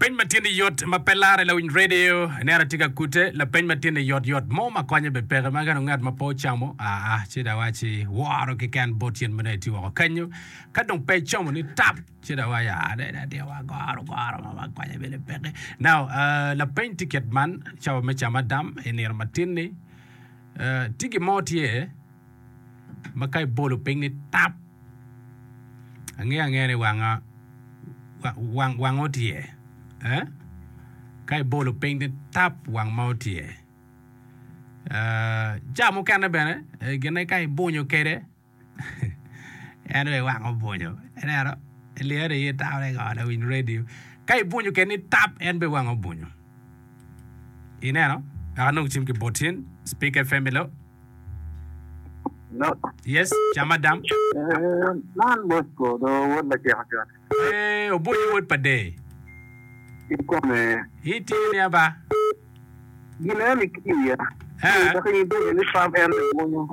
Lapeny ma tye ni yot ma pe lare lawiny radio ineno atye ka kute lapeny ma tye ni yot yot mo ma konye be peke ma ka dong ngat ma pe ocamo aa ci dong awaci woro keken bot cen ma dong itye woko kenyo ka dong pe icomo ni tap ci dong awaci aa dong atye wa goro goro mo ma konye bene peke. Now lapeny tye kit man cawa me camo adam i nino matin ni tye gin mo tye ma ka ibolo piny ni tap angeyo angeya ni wanga wang wang otyer eh ka ibolo piny ni tap wang ma otyer eh ca mukene bene gine ka ibunyo kwede en aye wang obunyo ineno ilyero iye itamo ni ngo lawiny radio ka ibunyo kwede ni tap en bene wang obunyo ineno wek anong cim ki bot in speak FM hello. Hello. Yes, cam adam. Eh, man Bosco do wod lacek ocot. Eh, obonyo wod pa dee. Kikome. Itye ni aba. Gin eni kiya. Eh. Dok in ibedo ni pam en obonyo.